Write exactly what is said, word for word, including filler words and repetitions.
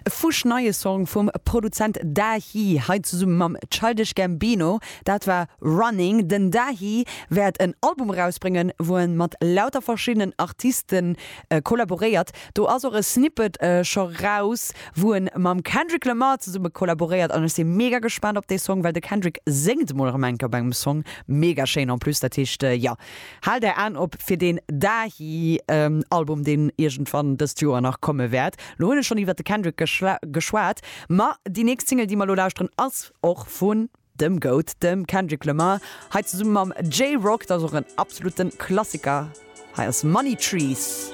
Fuschneie Song vum Produzent Dahi, hei zesumme mam Childish Gambino, dat war Running. Den Dahi wäert en Album erausbréngen, wou en mat lauter verschiddenen Artisten kollaboréiert. Do ass och e Snippet scho raus, wou en mam Kendrick Lamar zesumme kollaboréiert an ech si mega gespaant op dee Song, well de Kendrick séngt emol erëm eng Kéier op engem Song. Mega schéin en plus, dat heescht jo, haalt är Aen op fir deen Dahi Album, deen iergendwann dëst Joer nach komme wäert. Lo hunn ech schonn iwwert de Kendrick geschwat, ma déi nächst Single, déi mer lo lauschteren, ass och vun dem Goat, dem Kendrick Lamar, hei zesumme mam Jay Rock, dat ass och en absoluten Klassiker. Hei ass Money Trees.